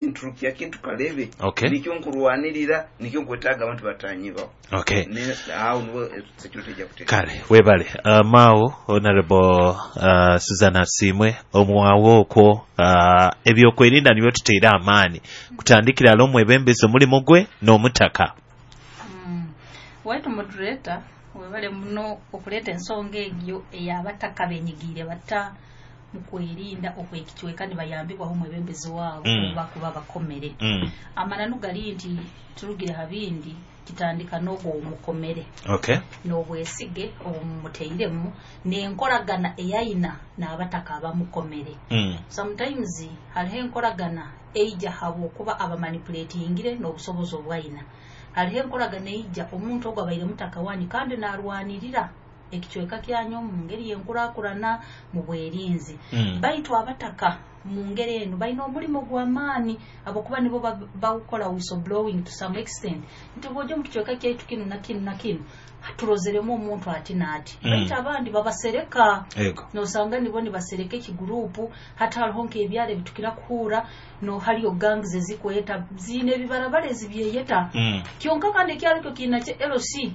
Nturukya kintu kalebe. Okay. Nikyo nkurwanirira, nikyo nkwetaaga abantu batanyibaho. Okay. Awo niwo security ejja kuteeka. Kale webale, mao Honorable Susan Asiimwe omwawo okwo, ebyokwerinda nibyo tuteire amaani kutandikira ala omwebembezi omulimu gwe n'omutaka. Waitu moderator, webale muno okuleeta ensonga egyo eyabataka benyigiire bata mu kwerinda okwekicweka nibayambibwaho omwebembezi waabo oba kuba bakomere. Amananu gali nti turugire ha bindi, kitandika n'ogwo omukomere n'obwesige obumumuteiremu n'enkoragana eyayina n'abataka abamukomere. Sometimes hariho enkoragana eija habwokuba abamanipulatingire n'obusobozi obwayina. Hariho enkoragana eija omuntu ogwo abaire mutaka wanyu kandi narwanirira ekicweka kyanyu mu ngeri y'enkurakurana mu bwerinzi. Baitu abataka mu ngeri eno balina omulimu gw'amaani abokuba nibo bawukola whistleblowing to some extent, nti bw'ojja mu kicweka kyaitu kinu na kinu na kinu turozeremu omuntu ati n'ati. Baitu abandi babasereka. Nosanga nibo nibasereka ekigurupu. Hati hariho nk'ebyaro ebitukira kuhuura no hariyo gangs ezikweta ziine ebibarabara ezibyeyeta. Kyonka kandi ekyaro ekyo kiina kye LC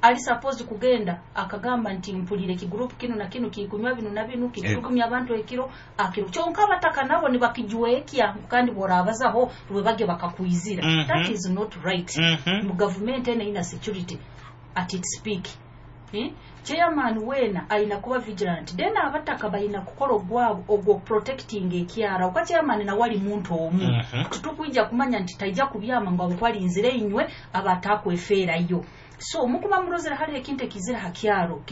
ali supposed kugenda akagamba nti mpulire ekigurupu kinu na kinu kikunywa binu na binu, kikutumya abantu ekiro akiro, kyonka abataka nabo nibakijwekya kandi bworabazaho rwebage bakakwizira. That is not right. Mu gavumenti eno eyina security at its peak, eh? Chairman weena ayina kuba vigilant, then abataka bayina kukola ogwabo ogwo protecting ekyaro oka chairman nawe ali muntu omu. Tutukwija kumanya nti taija kubyama ngo abakwalinzire inywe abatakwefeerayo. So mukuba murozera hariho ekintu ekizira ha kyaro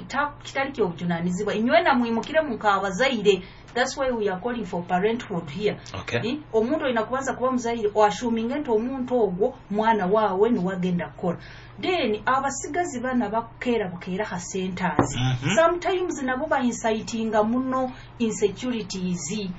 kitali kyobujunanizibwa, inywe namwimukire mukabazaire. That's why we are calling for parenthood here. Okay. Eh? Omuntu olina kubanza kuba muzaire oashuminge nti omuntu ogwo mwana waawe niwagenda kukora. Then abasigazi bana bakukeera bukeera ha centers, sometimes nabo baincitinga muno insecurities.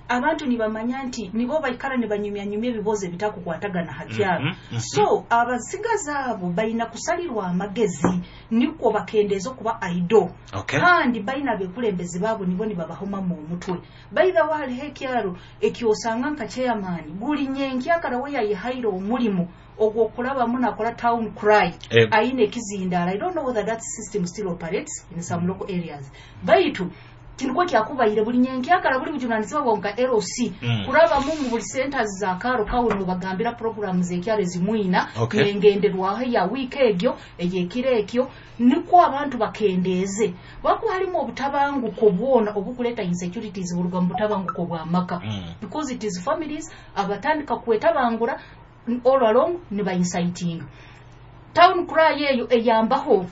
Abantu nibamanya nti nibo baikara nibanyumyanyumya ebibozo ebitakukwatagana ha kyaro. So abasigazi abo balina kusalirwa amagezi nikwo bakendeeza okuba idle. Kandi balina bekulembezi baabo nibo nibabahomamu omutwe. Baithawo hariho ekyaro ekyosanga nka chairman buli nyenkyakara we yayihaire omulimu ogwokulabamu nakola town cry. Ayina ekizindaala. I don't know whether that system still operates in some local areas, baitu kinukwo kyakubaire buli nyenkyakara buli bujunanizibwa bwawe nka LC kurabamu mu buli centers za karo kawe nobagambira programs ekyaro ezimwina nengenderwaho ya wiiki egyo eyekiro ekyo, nikwo abantu bakendeeze wakuba harimu obutabanguko bwona obukuleta insecurities buruga mu butabanguko bw'amaka, because it is families abatandika kwetabangura all along niba inciting. Town cry eyo eyambaho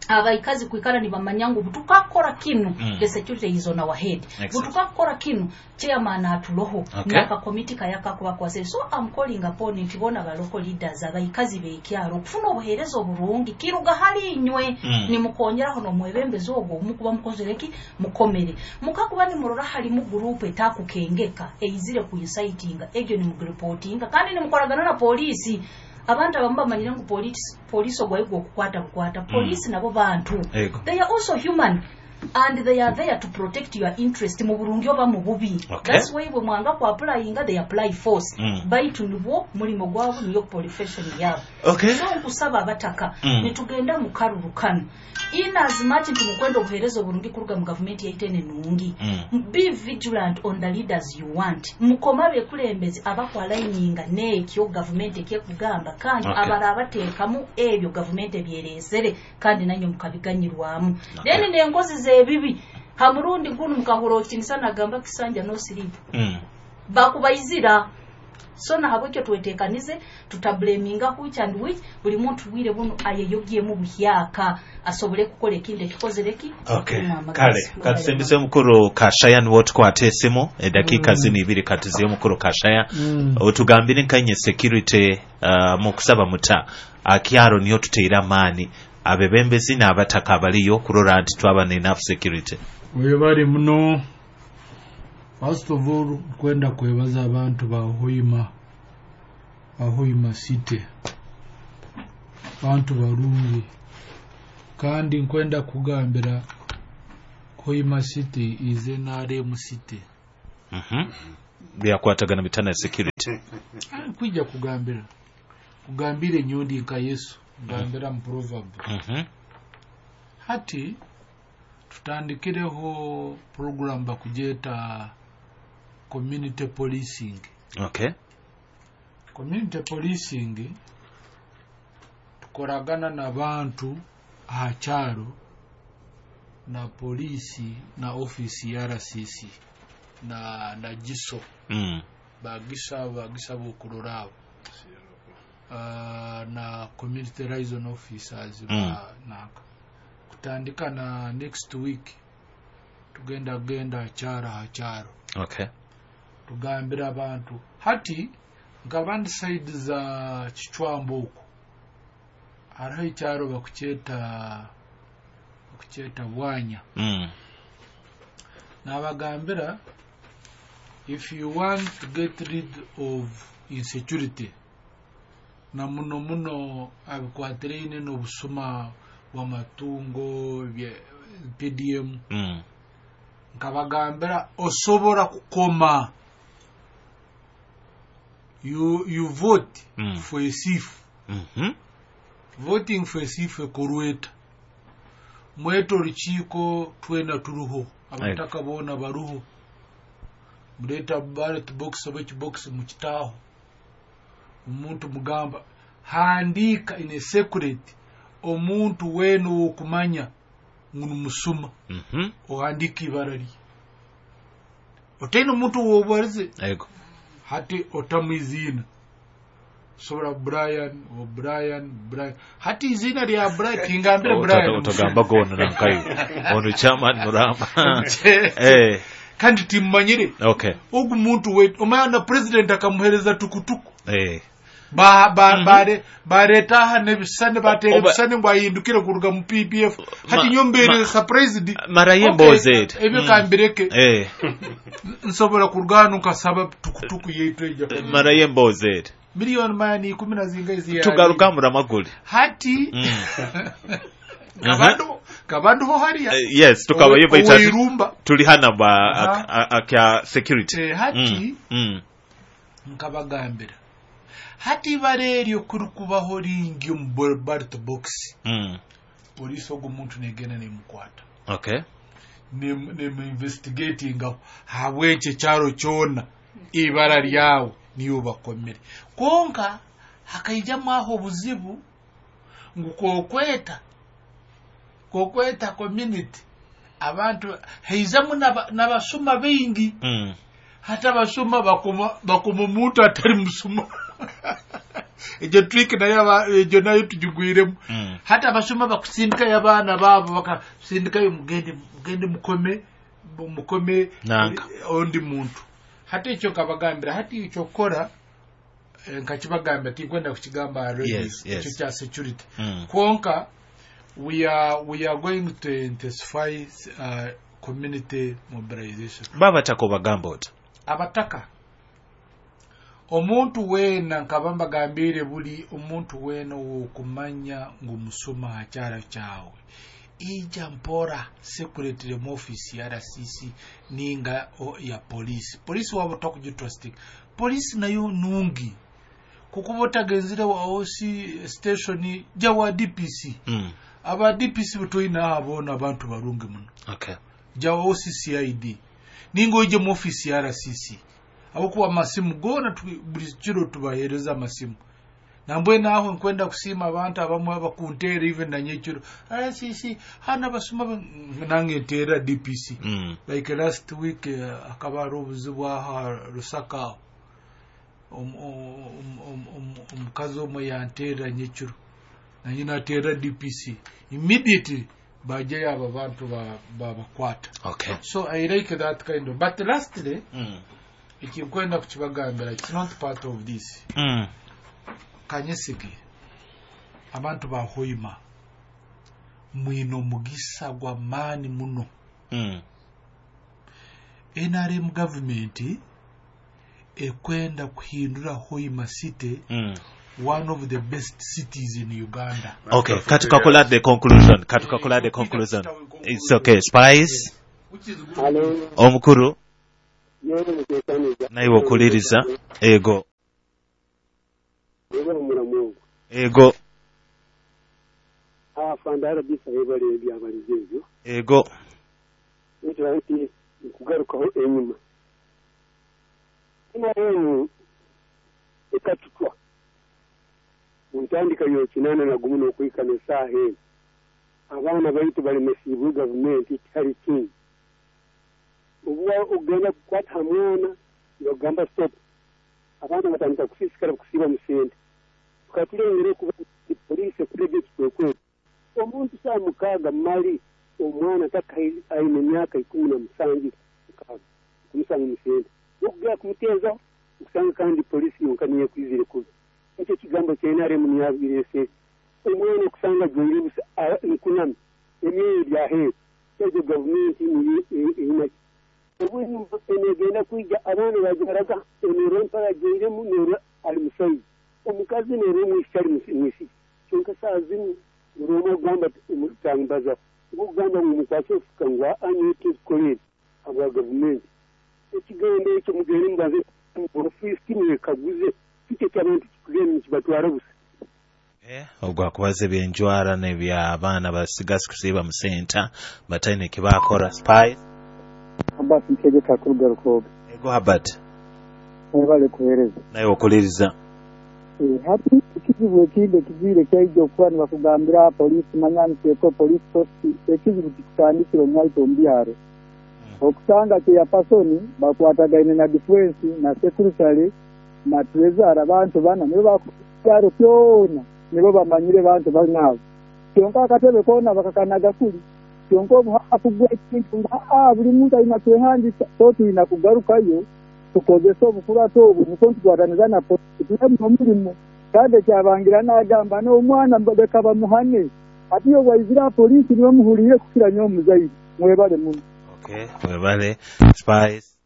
abaikazi kwikara nibamanya ngu butukakora kinu, the security is on our head. Butukakora kinu, chairman atuloho nakakomiti kayakakubakwasire. So I'm calling upon nti bona ba local leaders, abaikazi bekyaro, okufuna obuheereza oburungi kiruga hali inywe. Nimukongeraho nomwebembezi ogwo omukuba mukozereki mukomere mukakuba nimurora halimu gurupu etakukengeka eizire kuincitinga egyo, nimugiripotinga kandi nimukoragana na polisi. Abantu abamu bamanyire ngu polisi ogwayo gwokukwata bukwata. Polisi nabo bantu. They are also human and they are there to protect your interest mu burungi oba mu bubi. That's why bwe mwanga ku applyinga, they apply force. Baitu nibwo mulimo gwabo, niyo profession yabo. So nkusaba abataka, nitugenda mu karuru kano, in as much nti mukwenda obuheereza oburungi kuruga mu gavumenti yaitu eno enungi, be vigilant on the leaders you want. Mukoma abekulembezi abakwalininga n'ekyo gavumenti ekyekugamba kandi abarabateekamu ebyo gavumenti ebyereesere kandi nanywe mukabiganyirwamu. Then n'enkozi z'ebibi, ha murundi gunu mukahura okinisa nagamba kisanja no sleep, bakubaizira. So nahabwekyo twetekanize, tutablaminga which and which. Buli muntu bwire buno ayeyogyemu buhyaka asobole kukola ekintu ekikozereki. Kale katusembeze omukuru Kashaya, niwe tukwata esimu edakiika zino ibiri. Katuziye omukuru Kashaya. Otugambire nkanye security, mukusaba muta akyaro niyo tuteire amaani abebembezi n'abataka abaliyo kurora nti twaba na enough security? Webale muno. First of all, kwenda kwebaza abantu ba Hoima, ba Hoima City, bantu barungi. Kandi nkwenda kugambira Hoima City is NRM city. Byakwatagana bitana security. Kwija kugambira kugambira enyondi nka Yesu gambira mu proverb. Hati tutandikireho program bakugyeta community policing. Okay. Community policing tukoragana n'abantu aha kyaro na polisi na ofisi ya RCC na GISO. Bagisa bokurora abo na community liaison officers. Naka kutandika na next week tugenda genda kyaro ha kyaro. Okay. Tugambira abantu hati nkabandi side za Kichwambo oku hariho ekyaro bakukyeta Bwanya. Nabagambira, if you want to get rid of insecurity na muno muno abikwatireine n'obusuma bw'amatungo PDM. Nkabagambira osobora kukoma you vote for a thief. Voting for a thief ekorweta mwete orukiiko twena turuho abataka boona baruho muleeta ballot box oba ekibox mukitaaho omuntu mugamba handiika in a secret omuntu weena owokumanya ngu nimusuma. Ohandiika ibara rye otaine omuntu owobarize hati otamu iziina sobola Brian o Brian hati izina lya Brian tingambire Brian otagamba gono nankayo ono chairman Muramba kandi timmanyire. Okay. Ogu muntu we omanya na president akamuhereza tukutuku. Bareta aha n'ebisane batera ebisane ngu ahindukire kuruga mu PPF. Hati nyombere surprised mara yemboze ebyo kambireke. Nsobola kuruga hano nkasaba tukutuku yaitu ejja mara yemboze miliyoni mayani 10 na zinga izi tugaruka Muramaguli hati kabandu ho hariya. Yes, tukaba yeba tuli hana ba akya security. Hati nkabagambira hati ibara eryo kuri kubaho ringi omu ballot box. Polisi ogu muntu negenda nemukwata. Okay. Nemu investigating habwekyo ekyaro kyona ibara ryawe niyo bakomere. Konka hakaijamu aho obuzibu ngu kokweta community abantu heizamu n'abasuma baingi. Hata abasuma bakoma omuntu atari musuma. Ejo trick nayo ejo nayo tujugwiremu. Hata abasuma bakusindikayo abaana baabo bakasindikayo mugende mukome ondi muntu. Hati ekyo nkabagambira hati ekyo kukora nkakibagambira tinkwenda kukigamba already. Ekyo kya security. Konka we are going to intensify community mobilization. Babataka obagamba ota abataka omuntu weena nkaba mbagambire buli omuntu weena owokumanya ngu musuma akyaro kyawe ija mpora secretary mu office ya RCC ninga ya police. Police wabo takugitrusting. Police nayo nungi kukuba otagenzire wa OC station ja wa DPC. Aba DPC butwina abona abantu barungi muno. Okay. Ja wa OCCID ninga oije mu office ya RCC abokuba amasimu gona buli kiro tubahereza amasimu nambwe naho nkwenda kusima abantu abamwe abakuntera even na nyekiro RCC hana basuma nange ntera DPC. Like last week akaba ari obuzibu aha Rusaka omukazi omwe yantera nyekiro nanye natera DPC immediately bajayo abo bantu babakwata. Okay. So I like that kind of, but lastly ekinkwenda kukibagambira it's not part of this. Kanyesige abantu ba Hoima mwino mugisa gwa maani muno. NRM government ekwenda kuhindura Hoima City one of the best cities in Uganda. Okay, katukakola the conclusion. It's okay. Spice. Which is good. Hello. Omukuru. Naiwe okuliriza. Ego. Ego. Ego. Kugarukaho enyuma NRM ekatutwa muntandika yokinana nagumu n'okwikana esaaha eno abaana baitu balemesiibwe gavumenti tihari kindi obuwa ogenda kukwata ha mwana nibagamba stop abaana batandika kusiisikara kusiiba mu sente tukatulengera okuba poliisi ekurega ekikwekweto omuntu saa 6 mali omwana aine emyaka 17 kumusanga mu sente okugera kumuteeza okusanga kandi polisi yonka niyo ekwizire kubi ekyo ekigambo kya NRM niyabirese omwana okusanga ajwaire busa nkunami emyoyo byaheeru ekyo gavumenti niyo erina obunyuma enegenda kwija abaana bajwaraga enero empara ajwairemu nero ali musaiza omukazi nero omwisiki ali mwisiki kyonka saa zinu buri omwe agamba omutambaza okugamba ngu mukwase ofuka ngu aa tukolere abwa gavumenti ekigambo ekyo mugende mubanze ofiisi mwekaguze kiki ekyabantu kikugenda nikibatwara busa. Ogwakubaza ebyenjwara n'ebyabaana basigasi kusiiba mu senta bataine ekibakora. Spice Abbas Ntegeka kuruga Rukoga. Ego Habert. Mwebale kuheereza. Nawe okuliriza. Hati ekizibu ekindi ekigwire kyaija okuba nibakugambira polisi manya niteeko polisi post ekizibu kikutandikira omwaito omu byaro. Okusanga chairperson bakwatagaine na defense na secretary na treasurer abantu bana nibo bakubyaro kyona nibo bamanyire bantu banabo. Kyonka akatebe kona bakakanaga kuli kyonka obuhafu bw'ekintu nga buli muntu alina kwehandisa so tulina kugarukayo tukozesa obukurato obu niko tukwataniza na polisi tulemu omurimo kandi ekyabangira n'agamba n'omwana leka bamuhane ati iyo bwaizira polisi niwe muhulire kukira nyo omuzaire. Mwebale muno. Okay, mwebale. Spice.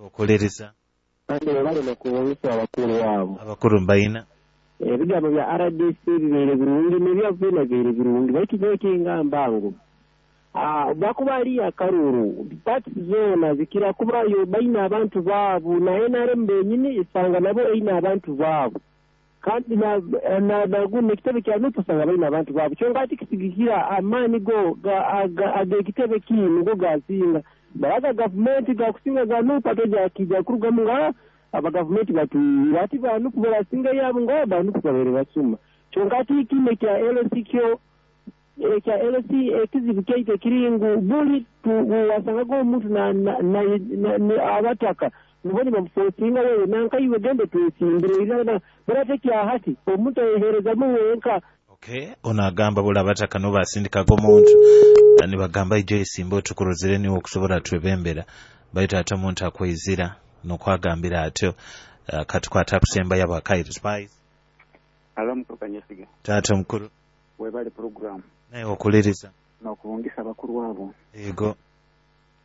Okuliriza. Kandi webale n'okubuusa abakuru abo. Abakuru mbayina. Ebigambo bya RDC bibeire birungi n'ebyavuina bibeire birungi baitu nyowe kingamba ngu bakuba ari akaruru parties zoona zikira kubayo baine abantu baabo na NRM benyini isanga nabo eine abantu baabo kandi na ekitebe kya NUP usanga baine abantu baabo kyonka ati kisigikira amaani go ag'ekitebe kinu go gasinga baraga gavumenti gakusinga ga NUP ate jakija kurugamu nga abagavumenti batuira ati ba NUP barasinga yabo nga ba NUP babere basuma kyonka ati kine kya LC kyo ekya LC ekizibu kyaite kiringu buli wasangaga omuntu na abataka niboni bamufosinga wewe nanka iwe gende twesimbire irana barate kyahati omuntu ayeherezamu wenka. Okay, ono agamba buli abataka no basindikaga omuntu nibagamba ijo esimba otukurozere niwe okusobola twebembera baitu ate omuntu akwezira nokwagambira atyo. Katukwata kusemba yabo akaire. Spice. Alo mukuru Kanyesiga. Taata mukuru. Webale program. Naye okuliriza. N'okubungisa abakuru abo. Ego.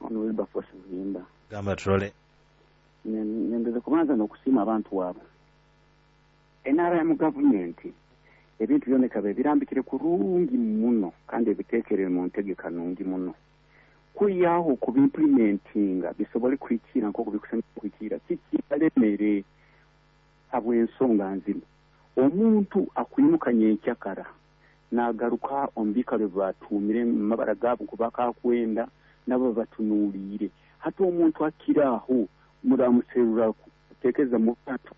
Ono Wilberforce Muhimba. Gamba turole. Nendeze kubanza n'okusiima abantu abo. NRM gavumenti ebintu byona ekabe birambikire kurungi muno kandi ebiteekerere mu ntegeka nungi muno. Kuyaho kubimplementinga bisobole kuhikira nk'oku bikusanya kuhikira kikibalemere habw'ensonga nzima. Omuntu akwimuka nyenkyakara nagaruka omu biikaro batuumire mu mabara gaabo kubakakwenda nabo batunuuliire hati omuntu akiraaho muramuserura kuteekeza mu bantu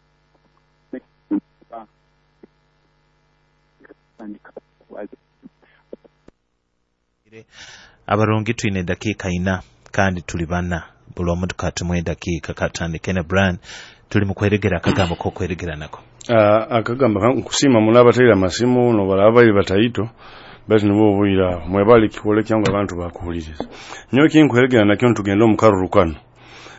Abarungi twine dakiika 4 kandi tuli bana buli omuntu katumwe dakiika katandike ne Brian tuli mu kweregera akagambo k'okweregera nako. Akagamba nkusima muno abateera amasimu nobalaba bali bataito bati nibo obwira mwebale kikole kyangwa abantu bakuhuliriza nyowe kinkweregera nakyo ntugenda omukaruru kano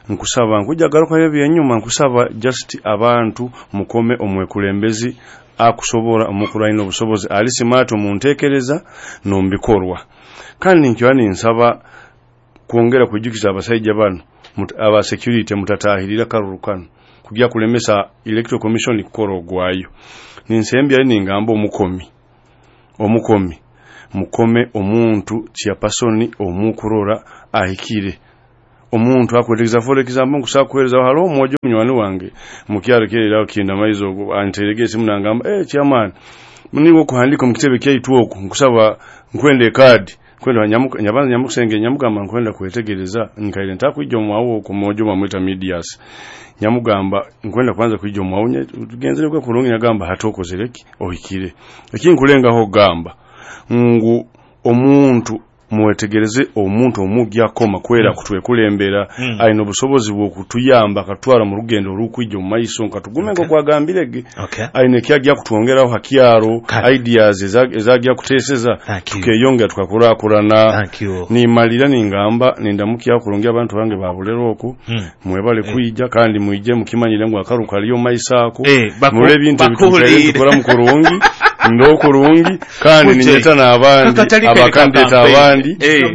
nkusaba nkujja garuka ebyenyuma nkusaba just abantu mukome omwekulembezi akusobora omukuraino obusobozi ali smart omuntekereza nombikorwa kandi nkyani nsaba kwongera kujukiza abasajja bano aba security mutatahirira karuru kano kujya kulemesa electoral commission kukora ogwayo ninsembya ningamba omukomi mukome omuntu chairperson omukurora ahikire Omuntu akwetegeza, for example, nkusa kuhereza halo omwojo munywani wange mukyalo kirera kinda maizo ogwo anterege esimu nangamba, "Eh, chairman, niwo kuhandika mu kitebe kyaitu oku, nkusaba nkwende card kwenda nyamuka nyabanza nyamukusenge." Nyamugamba nkwenda kwetegereza nkaire ntakwijja omwawo ku mwojo bamwita medias. Nyamugamba nkwenda kwanza kwijja omwawo tugenzere kwa kulungi. Nyagamba hatokozereki ohikire ekinkulengaho gamba ngu omuntu mwetegereze, omuntu omugya koma kwera kutwekulembera aina obusobozi bw'okutuyamba akatwara mu rugendo olukwijja omu maiso nkatugume okay. Kwagambirege aine kyajja kutwongeraho hakyaro ideas ezajja kuteeseza tukeyongera tukakurakurana. Nimalira ningamba nindamukya kurungi abantu bange babulero oku mwebale kwijja kandi mwije mukimanyire ngu akaru kaliyo maiso ako mule ebintu ebitukaire tukora mu kurungi ndo kurungi kandi ninyeta n'abandi abakandidate abandi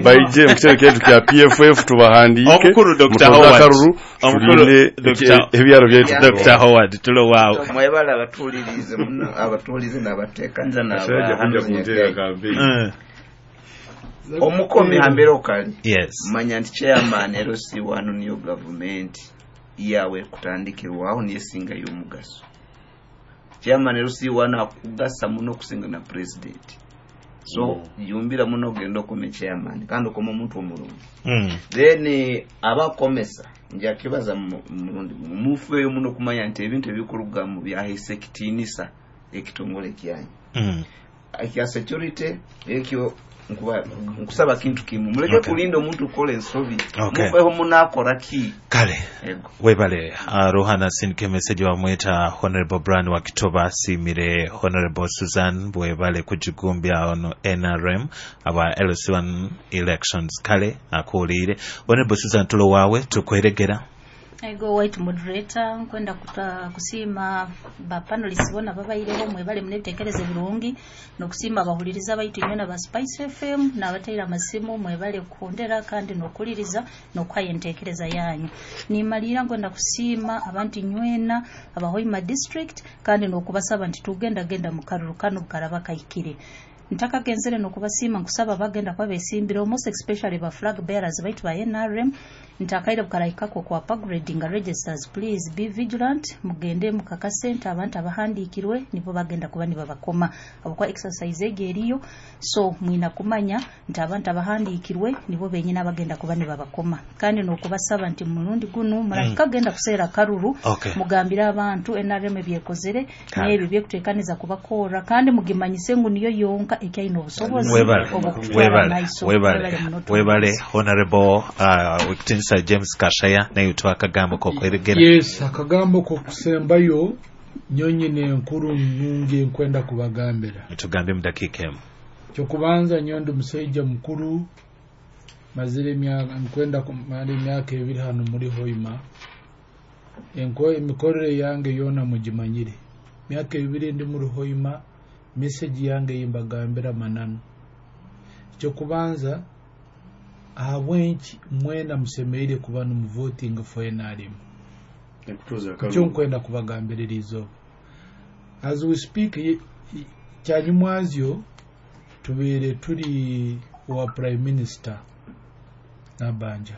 baije mu kitebe kyaitu kya PFF tubahandiike. Omukuru Dr. Howard, Karuru omukuru tulinde Dr. ebyaro byaitu. Dr. Howard, tulo waawe. Mwebale abatuulirize muno, abatuulize n'abateekaniza n'abahanuzi. Omukomi hambere okali manya nti chairman LC1 niyo gavumenti yawe kutandikirwaho niyo esinga y'omugaso. Chairman LC1 akugasa muno okusinga na president, so yumbira muno ogenda okome chairman kandi okoma omuntu omurungi. Then abakomesa nja kibaza mulundi gumu, mufeeyo muno okumanya nti ebintu ebikurugamu byahaisa ekitiinisa ekitongole kyanyu ekya security. Ekyo nkusaba kintu kimu, muleke kulinda omuntu kukola ensobi. Mufeeho munakora ki. Kale. Ego. Webale. Rohana sindike message wamweta Honorable Brian wa Kitoba, simire Honorable Susan bwebale kujigumbya ono NRM aba LC1 elections. Kale akuwulire Honorable Susan, tulo waawe tukweregera. Ego, white moderator, nkwenda kusiima ba panelists bona babaireho, mwebale munebitekerezo birungi, nokusiima abahuliriza baitu inywena ba Spice FM n'abateera amasimu, mwebale kuhondera kandi n'okuliriza n'okuhayo enteekereza yanyu. Nimalira nkwenda kusiima abantu inywena abahoima district kandi n'okubasaba nti tugenda genda mu karuru kano bukaraba kahikire. Ntakagenzere nokubasiima, nkusaba bagenda kuba besimbire, most especially ba flag bearers baitu ba NRM, ntakaire bukarahikako kwa upgrading registers, please be vigilant, mugende mukakase nti abantu abahandikirwe nibo bagenda kuba nibabakoma abakwa exercise egi eriyo. So mwina kumanya nti abantu abahandikirwe nibo benyine abagenda kuba nibabakoma, kandi nokubasaba nti mulundi gunu murahika genda kuseera karuru mugambire abantu NRM ebyekozere n'ebyo byekuteekaniza kubakora, kandi mugimanyise ngu niyo yonka ekyaine obusobozi obwokutwara maiso. Webale, webale Honorable Wiktinsa James Kashaya, naye tuwa akagambo kokweregera. Yes, akagambo kokusembayo nyonyine enkuru nungi nkwenda kubagambira. Tugambe mu dakiika emu. Kyokubanza nyowe ndi musaija mukuru, mazire emyaka nkwenda kumara emyaka 2 hano muri Hoima. Emikorere yange yona mugimanyire. Myaka 2 ndi muri Hoima, message yange yimbagambira mananu. Ekyokubanza, ahabwenki mwena musemeire kuba numuvoting for NRM. Ekyo nkwenda kubagambirira izooba. As we speak, kyanyumwazyo tubeire turi wa Prime Minister Nabanja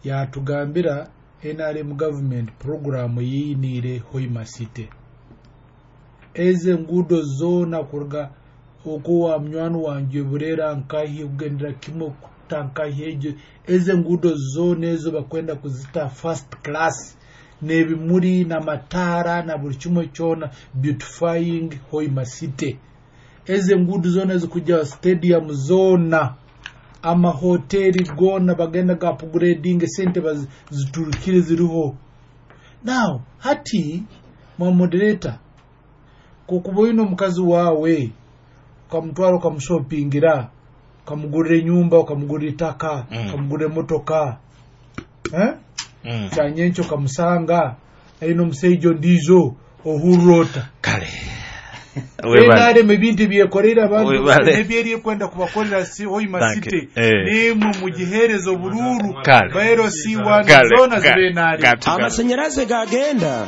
yatugambira NRM government program yiyiniire Hoima City, eze ngudo zona kuruga okuwa munywani wanje Burera nkahi kugendera kimwe kutankahi ejo, eze ngudo zona ezo bakwenda kuzita first class n'ebimuri n'amataara na buli kimwe kyona, beautifying Hoima City. Eze ngudo zona ezikuja stadium zona, amahoteli gona bagenda ga upgrading, sente baziturukire ziriho. Now hati mwa moderator, kukuba oyina omukazi waawe ukamutwara ukamushopingira, ukamugurira enyumba, ukamugurira itaka, ukamugurira emotoka, eh? Kyanyenkyo ukamusanga aine omusaija ondiijo, ohurra ota? Kale. NRM ebintu ebyekoreire abantu nebyeri ekwenda kubakorera si Hoima City, nimwe mugihereza oburuuru ba LC1 zona zibe NRM. Amasanyaraze gagenda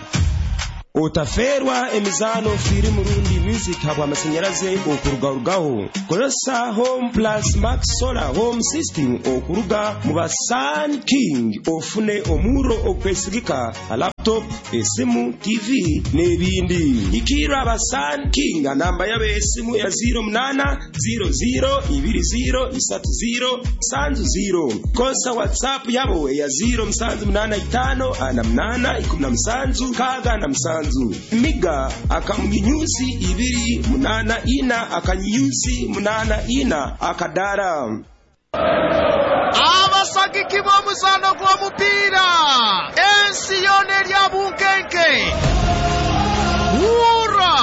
otaferwa emizano firimu rundi. Music habw'amasanyaraze okurugarugaho. Kozesa Home Plus Max Solar Home System okuruga mu ba Sun King ofune omurro ogukwesigika ha laptop, esimu, TV n'ebindi. Ikirra aba Sun King namba yabo esimu ya 08 00 20 30 70. Kozesa WhatsApp yabo ya 0785 48 17 67. Miga akamunyunyusi 284 akanyunyusi 84 akadara. Abasagiki b'omuzaano gw'omupiira ensi yona erya bunkenke wura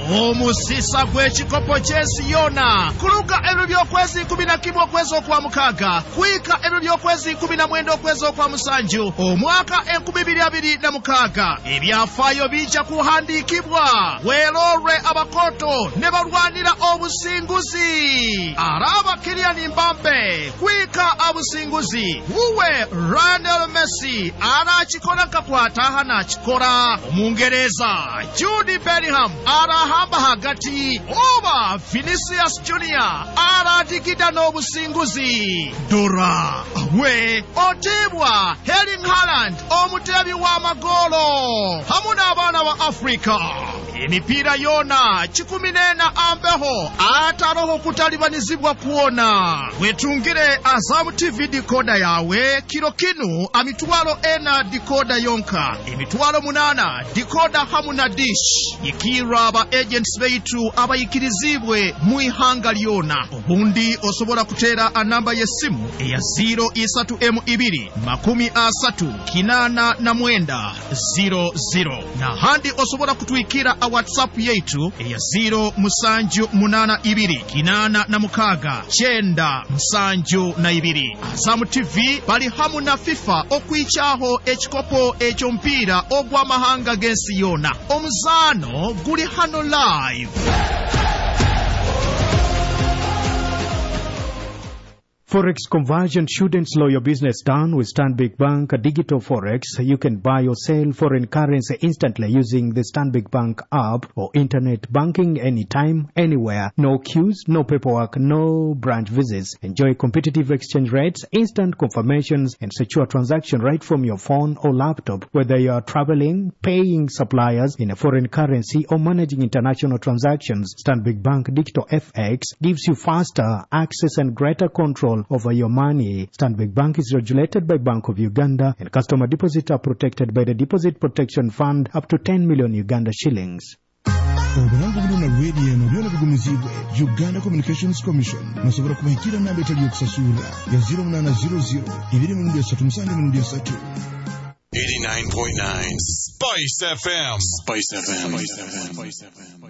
omusisa gw'ekikopo ky'ensi yona kuluga ebiro by'okwezi 11 okwezi okwa mukaaga kwika ebiro by'okwezi 19 okwezi okwa musanju omwaka 2026 ebyafaayo bijja kuhandiikibwa weerolwe abakoto ne balwanira obusinguzi araba Kylian Mbappe kwika abusinguzi wuwe Lionel Messi arakikora nkakwataha nakikora omungereza Jude Bellingham arahamba hagati oba Vinicius Junior aradigida n'obusinguzi dora we otibwa Erling Haaland omutebi w'amagolo hamu n'abaana ba Afrika emipiira yona 14 ambeho ataroho kutalibanizibwa kuona wetungire Azam TV dikoda yawe kiro kinu amitwalo ena dikoda yonka emitwalo 8 dikoda hamu na dish ikira aba agents beitu abayikirizibwe muihanga lyona obundi osobola kutera anamba y'essimu eya 03M2 30 89 00 na handi osobola kutwikira a WhatsApp yetu eya 0782 86 972. Azam TV bali hamu na FIFA okwichaho ekikopo ekyomupiira ogw'amahanga g'ensi yona. Omuzaano guli hano live. Forex conversion shouldn't slow your business down. With Stanbic Bank Digital Forex, you can buy or sell foreign currency instantly using the Stanbic Bank app or internet banking anytime, anywhere. No queues, no paperwork, no branch visits. Enjoy competitive exchange rates, instant confirmations, and secure transaction right from your phone or laptop. Whether you are traveling, paying suppliers in a foreign currency, or managing international transactions, Stanbic Bank Digital FX gives you faster access and greater control over your money. Stanbic Bank is regulated by Bank of Uganda, and customer deposits are protected by the Deposit Protection Fund up to 10 million Uganda shillings. Obulango buno na radio eno byona bigumizibwe Uganda Communications Commission. Musobola kubahikira namba etali yokusasulira ya 0800 237 89.9 Spice FM. Spice FM. Spice FM.